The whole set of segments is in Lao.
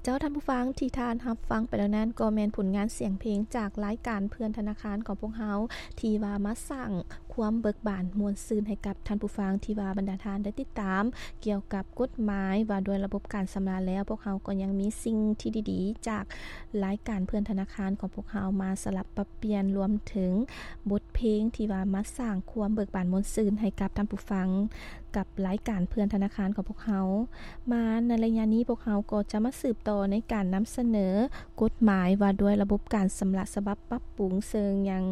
ແລ້ວທ່ານຜູ້ຟັງທີ່ທ່ານຮັບຟັງໄປແລ້ວນັ້ນ ກໍແມ່ນຜົນງານສຽງເພງຈາກລາຍການເພື່ອນທະນາຄານຂອງພວກເຮົາ ທີ່ວ່າມາສ້າງຄວາມເບີກບານມ່ວນຊື່ນໃຫ້ກັບທ່ານຜູ້ຟັງ ທີ່ວ່າບັນດາທ່ານໄດ້ຕິດຕາມກ່ຽວກັບກົດໝາຍວ່າດ້ວຍລະບົບການຊຳລະແລ້ວ, ພວກເຮົາກໍຍັງມີສິ່ງທີ່ດີໆຈາກລາຍການເພື່ອນທະນາຄານຂອງພວກເຮົາມາສະຫຼັບປັບປ່ຽນ, ລວມເຖິງບົດເພງທີ່ວ່າມາສ້າງຄວາມເບີກບານມ່ວນຊື່ນໃຫ້ກັບທ່ານຜູ້ຟັງ ກັບລາຍການເພື່ອນທະນາຄານຂອງພວກເຮົາ. ມາໃນໄລຍະນີ້ ພວກເຮົາກໍຈະມາສືບຕໍ່ໃນການນຳສະເໜີກົດໝາຍວ່າດ້ວຍລະບົບການຊຳລະສະບັບປັບປຸງ, ເຊິ່ງຍັງ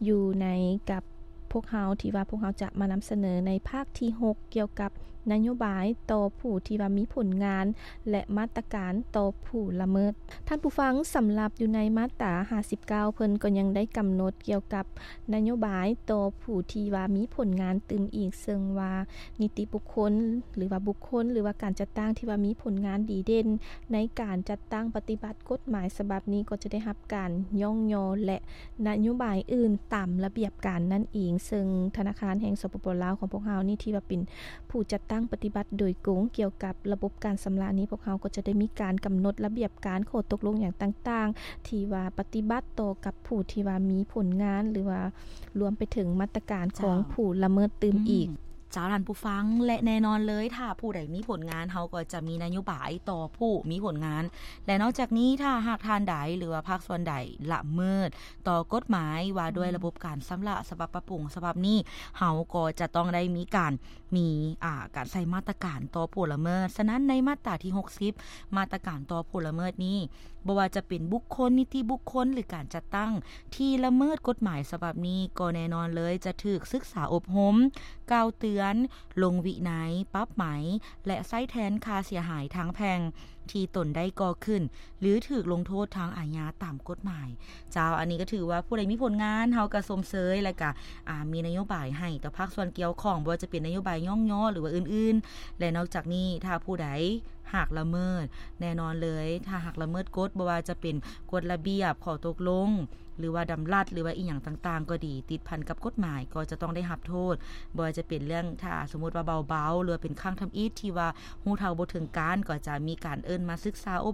ຢູ່ໃນກັບພວກເຮົາ ທີ່ວ່າພວກເຮົາຈະມານຳສະເໜີໃນພາກທີຫົກ ກ່ຽວກັບນະໂຍບາຍຕໍ່ຜູ້ທີ່ວ່າມີຜົນງານ ແລະ ມາດຕະການຕໍ່ຜູ້ລະເມີດ. ທ່ານຜູ້ຟັງ, ສຳລັບຢູ່ໃນມາດຕາຫ້າສິບເກົ້າ ເພິ່ນກໍຍັງໄດ້ກຳນົດກ່ຽວກັບນະໂຍບາຍຕໍ່ຜູ້ທີ່ວ່າມີຜົນງານຕື່ມອີກ, ເຊິ່ງວ່ານິຕິບຸກຄົນ ຫຼືວ່າບຸກຄົນ ຫຼືວ່າການຈັດຕັ້ງທີ່ວ່າມີຜົນງານດີເດັ່ນໃນການຈັດຕັ້ງປະຕິບັດກົດໝາຍສະບັບນີ້ ກໍຈະໄດ້ຮັບການຍ້ອງຍໍ ແລະ ນະໂຍບາຍອື່ນຕາມລະບຽບການນັ້ນເອງ. ເຊິ່ງທະນາຄານແຫ່ງ ສປປ ລາວ ຂອງພວກເຮົານີ້ ທີ່ວ່າເປັນ ຜູ້ຈັດຕັ້ງປະຕິບັດໂດຍກົງກ່ຽວກັບລະບົບການຊຳລະນີ້, ພວກເຮົາກໍຈະໄດ້ມີການກຳນົດລະບຽບການ, ຂໍ້ຕົກລົງຫຍັງຕ່າງໆ ທີ່ວ່າປະຕິບັດຕໍ່ກັບຜູ້ທີ່ວ່າມີຜົນງານ ຫຼືວ່າລວມໄປເຖິງມາດຕະການຂອງ ເຈົ້າ ຜູ້ລະເມີດຕື່ມອີກ. ອືມ ເຈົ້າ ທ່ານຜູ້ຟັງ ແລະ ແນ່ນອນເລີຍ ຖ້າຜູ້ໃດມີຜົນງານ ເຮົາກໍຈະມີນະໂຍບາຍຕໍ່ຜູ້ມີຜົນງານ ແລະ ນອກຈາກນີ້ ຖ້າຫາກທ່ານໃດ ຫຼືວ່າພາກສ່ວນໃດລະເມີດຕໍ່ກົດໝາຍວ່າດ້ວຍ ອືມ ລະບົບການຊຳລະສະບັບປັບປຸງສະບັບນີ້, ເຮົາກໍຈະຕ້ອງໄດ້ມີການ ມີ ອ່າ ການໃຊ້ມາດຕະການຕໍ່ຜູ້ລະເມີດ. ສະນັ້ນ ໃນມາດຕາທີຫົກສິບ ມາດຕະການຕໍ່ຜູ້ລະເມີດນີ້ ບໍ່ວ່າຈະເປັນບຸກຄົນ, ນິຕິບຸກຄົນ ຫຼື ການຈັດຕັ້ງທີ່ລະເມີດກົດໝາຍສະບັບນີ້ ກໍແນ່ນອນເລີຍຈະຖືກສຶກສາອົບຮົມ, ກ່າວເຕືອນ, ລົງວິໄນ, ປັບໃໝ ແລະ ໃຊ້ແທນຄ່າເສຍຫາຍທາງແພ່ງ ທີ່ຕົນໄດ້ກໍ່ຂຶ້ນ ຫຼື ຖືກລົງໂທດທາງອາຍາຕາມກົດໝາຍ. ເຈົ້າ ອັນນີ້ກໍຖືວ່າຜູ້ໃດມີຜົນງານ ເຮົາກໍຊົມເຊີຍ ແລະ ກໍ ອ່າ ມີນະໂຍບາຍໃຫ້ຕໍ່ພາກສ່ວນກ່ຽວຂ້ອງ, ບໍ່ວ່າຈະເປັນນະໂຍບາຍຍ້ອງຍໍ ຫຼືວ່າອື່ນໆ. ແລະ ນອກຈາກນີ້ ຖ້າຜູ້ໃດຫາກລະເມີດ, ແນ່ນອນເລີຍ ຖ້າຫາກລະເມີດກົດ, ບໍ່ວ່າຈະເປັນກົດລະບຽບ, ຂໍ້ຕົກລົງ ຫຼືວ່າດຳລັດ ຫຼືວ່າອີ່ຫຍັງຕ່າງໆກໍດີ ຕິດພັນກັບກົດໝາຍ ກໍຈະຕ້ອງໄດ້ຮັບໂທດ. ບໍ່ວ່າຈະເປັນເລື່ອງ ຖ້າສົມມຸດວ່າເບົາໆ ຫຼືວ່າເປັນຄັ້ງທຳອິດທີ່ວ່າຮູ້ເທົ່າບໍ່ເຖິງການ ກໍຈະມີການເອີ້ນມາສຶກສາອົບ